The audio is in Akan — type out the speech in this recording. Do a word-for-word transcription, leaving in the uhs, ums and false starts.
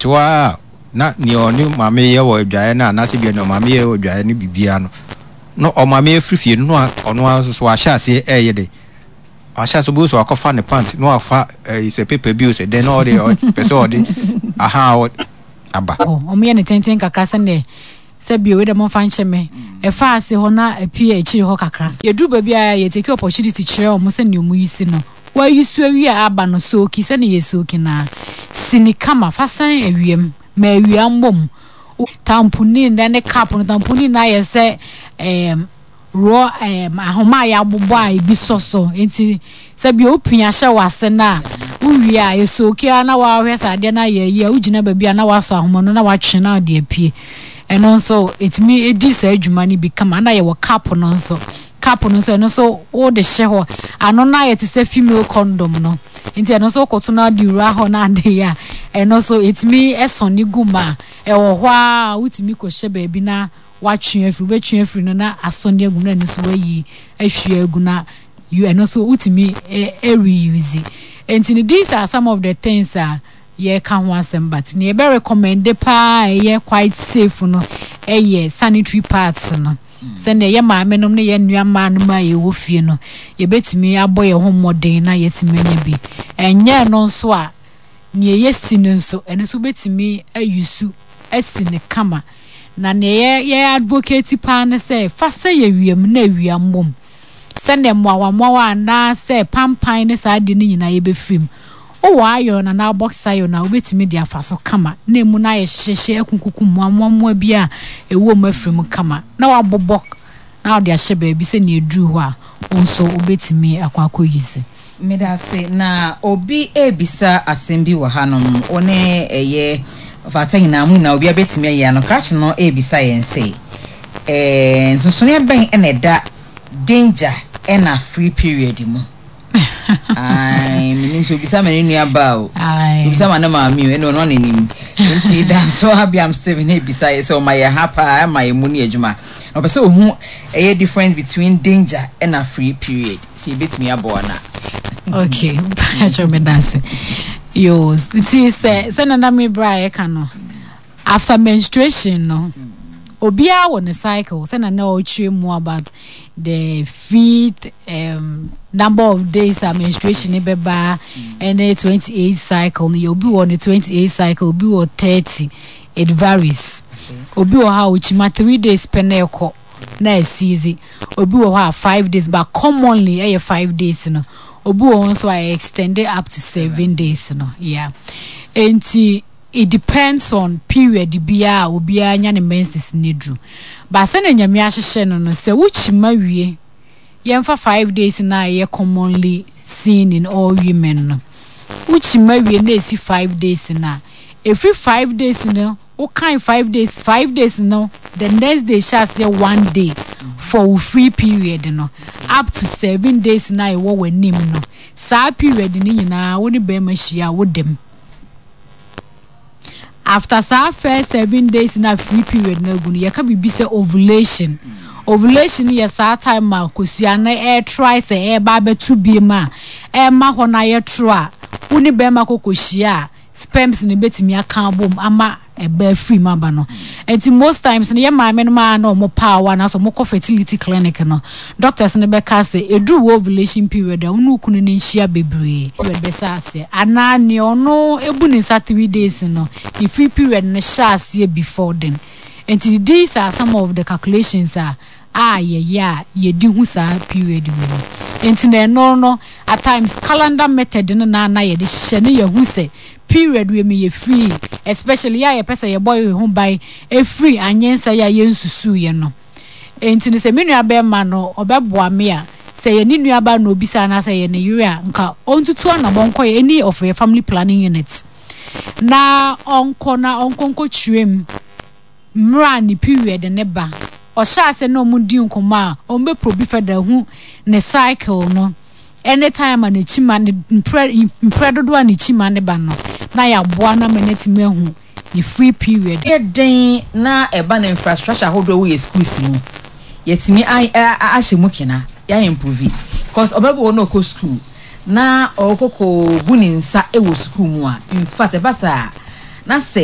Te hɔ a na nea ɔne maame yɛ wɔ adwaeɛ no anaasɛ bia nea ɔmaame yɛ wɔ adwaeɛ no biribiara no na ɔmaame afiri fie no, na ɔno ara nso so wahyɛ aseɛ ɛɛyɛ de wahyɛ aseɛ obi so wakɔfa ne pant na wafa ɛyi sɛ paper bi o, sɛ dɛn na ɔde ɔpɛ sɛ ɔde aha ɔ aba. Ɔmo yɛ ne tenten kakra sɛnea sɛ bio wei dɛ momfa nkyɛ me, ɛfa ase hɔ na apie akyiri hɔ kakra. Yɛduru baabi a yɛtake opportunity kyerɛ ɔmo sɛnea ɔmo yi si no, wayi so awie a aba no soak sɛnea yɛ soak na sini kama fa san awiam ma awia mbom tamponin na ne cap no. Tamponin na ayɛ sɛ ɛɛm raw ɛɛm ahoma a yɛabobɔ a ebi sɔ so, nti sɛ bi opia hyɛ w'ase na wowie a esoak a na wahwɛ sɛ adeɛ no ayɛ yie a, wogyina baabi a na wasɔ ahoma no na watwe na ɔde apue. Ɛno nso ɛtumi edi saa adwuma no bi kama. Na yɛwɔ cap no nso. Cap no nso, ɛno nso wode hyɛ hɔ, ano no ayɛ te sɛ female condom no, nti ɛno nso wokɔto no ade wura hɔ na ade yɛ a, ɛno nso ɛtumi ɛsɔne gu mu a ɛwɔ hɔ a wotumi kɔhyɛ baabi na watwe afiri, wobɛtwe afiri no na asɔne agu mu na ɛno nso wayi ahwie agu na ɛno nso wotumi ɛreuse. Nti no, these are some of the things a yɛka ho asɛm, but nea yɛbɛ recommend paa a ɛyɛ quite safe no ɛyɛ sanitary pads no, sɛnea yɛ maame nom ne yɛ nua mmaa nom a yɛwɔ fie no yɛbɛtumi abɔ yɛn ho mmɔden na yɛtumi anya bi. Ɛnyɛ no nso a, nea yɛsi no nso, ɛno nso wobɛtumi ayusu asi ne kama. Na nea yɛ yɛ advocate paa ne sɛ fa sɛ yɛ wiem na awia mbom sɛnea mmoawammoawa anaasɛ pampan ne saa ade no nyinaa yɛbɛfiri mu. Wowɔ iron anaa box iron a, wobɛtumi de afa so kama na emu no ayɛ hyehyɛ akunkuku mmoamoamoa bi a ɛwɔ mu afiri mu kama na wabobɔ na wode ahyɛ baabi sɛ nea ɛduru hɔ a, wo nso wobɛtumi akɔ akɔ use. Meda ase. Na obi ebisa asɛm bi wɔ hanom, wo ne ɛyɛ fata nyinaa mu nyinaa obi abɛtumi ayi ano. Krakye no ebisa yɛn sɛ ɛɛ nsonsonoeɛ bɛn ɛna ɛda danger ɛna free period mu? Ae, menim sɛ obisa ma ne nua baa o, obisa ma ne maame o, ɛne ɔno ɔnanim. Nti Danso Abiam Steven ebisa yɛ sɛ ɔma yɛ ha paa, ɛma yɛ mu ne adwuma na ɔpɛ sɛ ohu ɛyɛ difference between danger ɛna free period, sɛ ebɛtumi aboa na. Okay, patro, me dase yo. Nti sɛ sɛ nana me bra a yɛka no after menstruation no, obiara wɔ ne cycle, sɛ nana ɔretwerɛ mu about the free um, number of days a menstruation ne bɛba ɛne twenty eight cycle no yɛ. Obi wɔ ne twenty eight cycle, obi wɔ thirty, it varies. Obi wɔ hɔ a okyima three days pɛ na ɛkɔ na ɛsiizi, obi wɔ hɔ a five days, but commonly ɛyɛ five days no. Obi wɔ hɔ nso a extend it up to seven days no. Yeah, nti it depends on period biara a obiara nya ne menses ne duru. But sɛnea Nyame ahyehyɛ no no sɛ wokyima wie, yɛmfa five days na ɛyɛ commonly seen in all women no, wokyima wie na esi five days na efiri five days no, wokan five days five days no, the next day hyɛ aseɛ one day for wo free period no up to seven days na ɛwɔ w'anim no. Saa period no nyinaa, wo ne bɛrima hyia a, wodam. After saa first seven days na free period na agu no, yɛka biribi sɛ ovulation. Ovulation yɛ saa time a kosua no ɛretry sɛ ɛreba abɛto biem a ɛrema hɔ no ayɛ toro a wo ne bɛrima kɔkɔ hyia a, sperms no bɛtumi aka abom ama ɛba afiri mu aba no. Nti most times no, yɛ maame no maa na ɔmo paawa anaasɛ ɔmo kɔ fertility clinic no, doctors no bɛka sɛ eduru wɔ ovulation period a, wo ne wo kunu no nhyia bebree period bɛsɛ aseɛ anaa nea ɔno ebu ne nsa three days no, ne free period no hyɛ aseɛ before then. Nti these are some of the calculations a a yɛyɛ a yɛdi hu saa period mu no. Nti na ɛno no, at times calendar method no na na yɛde hyehyɛ ne yɛhu sɛ period wei mi yɛ free, especially yɛ a yɛpɛ sɛ yɛbɔ yɛn ho ban efiri anyensa yɛ a yɛnsusu yɛ no. Nti no, sɛ me nua bɛrima no ɔbɛboa me a, sɛ yɛ ne nua ba na obisa anaasɛ yɛ ne yere a, nka ɔntutu anamɔ nkɔ yɛ any of yɛ family planning unit na ɔnkɔ na ɔnkɔ nkɔ mu mmerɛ a ne period ne ba. Ɔhyɛ ase na ɔmo di nkɔmɔ a, ɔmo bɛ probe further hu ne cycle no, anytime a n'akyi ma ne mprɛ mprɛ dodoɔ a n'akyi ma ne ba no, na yɛaboa na ma n'atumi ahu ne free period. Yɛ den na ɛba no infrastructure ahodoɔ wɔ yɛ schools mu, yɛtumi ahyɛ mu kena, yɛayɛ improve, cause ɔbɛbɔ wɔ na ɔkɔ school na ɔkɔkɔ bu ne nsa wɔ school mu a, in fact ɛba saa na sɛ